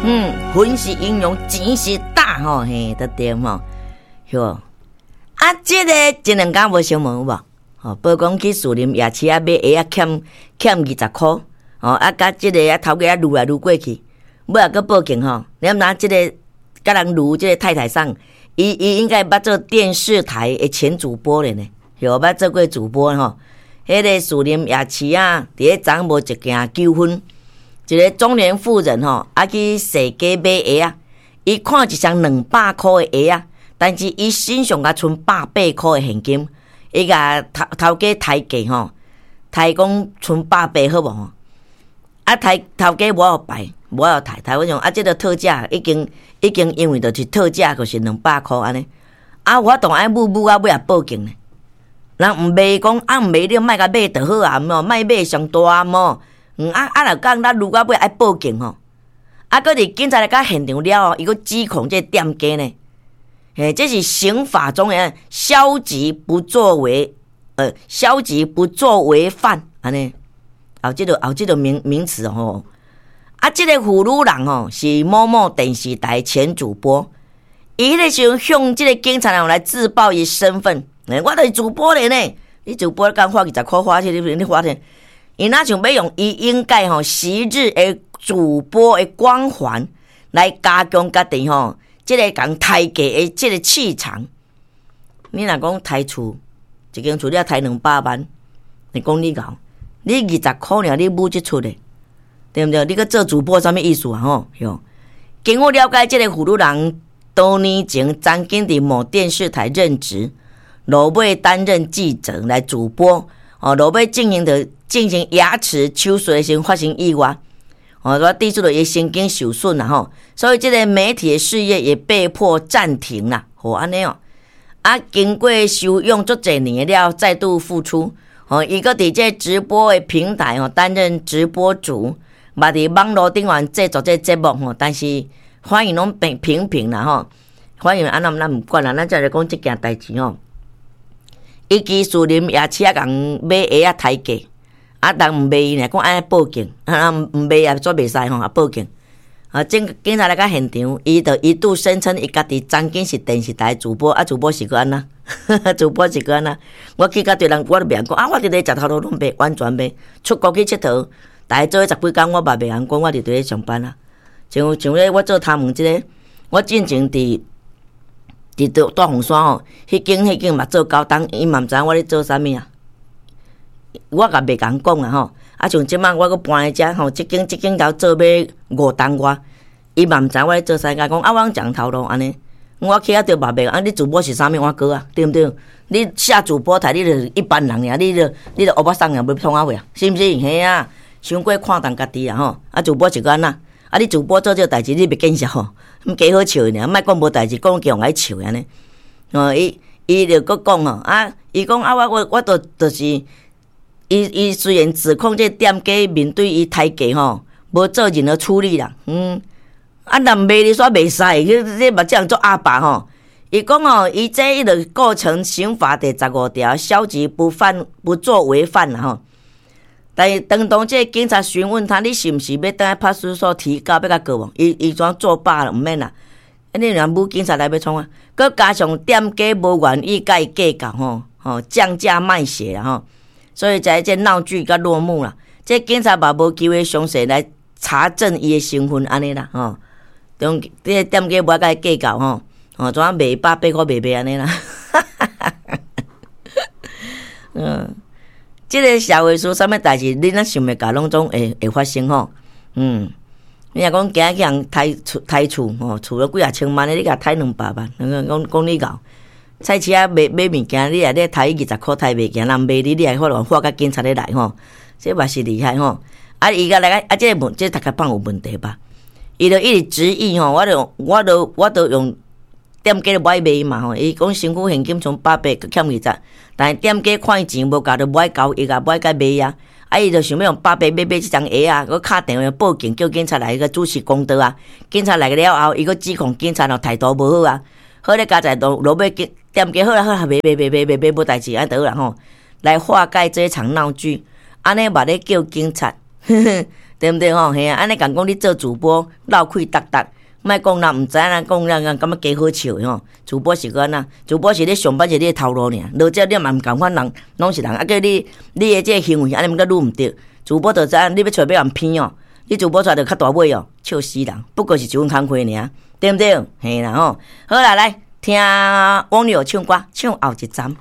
嗯，粉是英雄，錢是膽吼，嘿，得對吼，喲。啊，這个前兩工無新聞有無？吼，報講去士林夜市仔買鞋仔欠欠20箍，吼，啊，佮這个啊頭家啊擄來擄過去，尾仔閣報警吼。你毋知這个佮人擄這个太太桑，伊伊應該捌做電視台的前主播咧呢，有捌做過主播吼。彼个士林夜市仔，佇咧昨無一件糾紛，一个中年婦人吼，啊去踅街買鞋仔，伊看一雙200箍的鞋仔，但是伊身上才賰180箍的現金，伊共頭頭家刣價吼，刣講賰百八好無？啊，刣頭家無愛擺，無愛刣，刣我講啊，這个特價已經已經因為就是特價，就是200箍按呢。啊，我當愛舞舞啊，尾仔報警呢。人毋賣講啊，毋賣你莫共買就好啊，毋莫買上大毋。嗯啊啊，若講咱擄到尾愛報警吼，啊，閣佇警察來到現場了後，伊閣指控這个店家呢。嘿，這是刑法中的消極不作為，消極不作為犯，按呢，後這个後這个名名詞吼。啊，這个婦女人吼是某某電視台前主播，伊彼个時陣向這个警察人來自報伊身份，我就是主播咧呢。你主播敢花20箍花去？你你花錢？伊若像欲用伊應該吼昔日的主播的光環來加強家己吼。這个共刣價的這个氣場，你若講刣厝，一間厝你欲刣200萬，你講你𠢕，你20箍爾你舞這出的，對毋對？你閣做主播啥物意思啊？吼，喲。經我了解，這个婦女人多年前曾經佇某電視台任職，落尾擔任記者來主播，哦，落尾進行的進行牙齒手術的時陣發生意外。哦，說地主的伊神經受損啦吼，所以這个媒體的事業也被迫暫停啦。吼，按呢哦，啊，經過休養足濟年了，再度復出。哦，伊閣佇這直播的平台吼擔任直播主，嘛佇網路頂懸製作這節目吼，但是反應攏平平平啦吼，反應按怎咱毋管啦，咱再來講這件代誌吼。伊去士林夜市仔共買鞋仔刣價。啊，人毋賣伊爾，講愛報警，啊毋賣也煞袂使吼，啊報警。啊，警警察來到現場，伊就一度聲稱伊家己曾經是電視台主播，啊，主播是閣按怎？主播是閣按怎？我去到對人，我都袂曉講啊，我佇咧食頭路攏袂完全袂出國去𨑨迌，逐家做伙十幾工，我嘛袂曉講，我佇佇咧上班啊。像像咧，我做頭毛這个，我進前佇佇大鳳山吼，彼間彼間嘛做九冬，伊嘛毋知影我咧做啥物啊。我也袂共講啊吼，啊像這擺我閣搬來遮吼，這間這間頭做欲5冬外，伊嘛毋知我咧做啥，共講啊，我攏講頭路按呢，我去遐著嘛袂啊，你主播是啥物碗糕啊？對毋對？你下主播台，你就一般人爾，你就你就烏巴桑爾，欲創啥貨啊？是毋是？嘿啊，傷過看重家己啊吼！啊，主播是閣按怎？啊，你主播做這个代誌，你袂見笑吼？毋加好笑爾，莫講無代誌，講叫人愛笑按呢。哦，伊伊就閣講吼，啊，伊講啊，我我我著就是。伊伊雖然指控這店家面對伊刣價吼，無做任何處理啦，嗯，啊，若毋賣你煞袂使，你你嘛這樣做鴨霸吼。伊講哦，伊這伊就構成刑法第十五條消極不犯不作為犯啦吼。但是當當這警察詢問他，你是毋是欲轉來派出所提告，欲共告無？伊伊怎作罷了，毋免啦。你若無警察來欲創啊？閣加上店家無願意共伊計較吼，吼降價賣鞋啦吼。所以才這鬧劇才落幕啦。這警察嘛無機會詳細來查證伊的身份，按呢啦吼。中這店家無愛共伊計較吼，吼怎賣180箍賣賣按呢啦？嗯，這个社會事啥物代誌，你若想袂到，攏總會會發生吼。嗯，你若講今仔去予人刣厝刣厝吼，厝都幾若千萬的，你共刣200萬，講講你𠢕。菜市仔買買物件，你若咧刣20箍刣袂行，人罵你，你還法院喊甲警察咧來吼，這嘛是厲害吼。啊，伊共來個啊，這个問，這個讀課放有問題吧？伊就一直質疑吼，我就我就我就用店家無愛賣嘛吼，伊講身軀現金賰百八，閣欠二十，但是店家看伊錢無夠，就無愛交易啊，無愛共賣啊。啊，伊就想欲用百八買買這雙鞋啊，閣敲電話報警叫警察來個主持公道啊。警察來了後，伊閣指控警察哦態度無好啊。好咧，佳哉落落尾店家好啦好啦，賣賣賣賣賣賣無代誌按呢就好啦吼，來化解這場鬧劇。按呢嘛咧叫警察，呵呵，對毋對吼？嘿啊，按呢共講你做主播漏氣逐逐，莫講人毋知影，講人人感覺加好笑吼。主播是按怎？主播是咧上班是咧頭路爾，落遮你嘛毋仝款人，攏是人，啊叫你你的這个行為按呢毋閣愈毋對。主播就知影你欲揣欲予人騙哦，你主播出來就較大尾哦，笑死人。不過是一份工課爾，對毋對？嘿啦吼，好啦，來聽網友唱歌，唱後一站。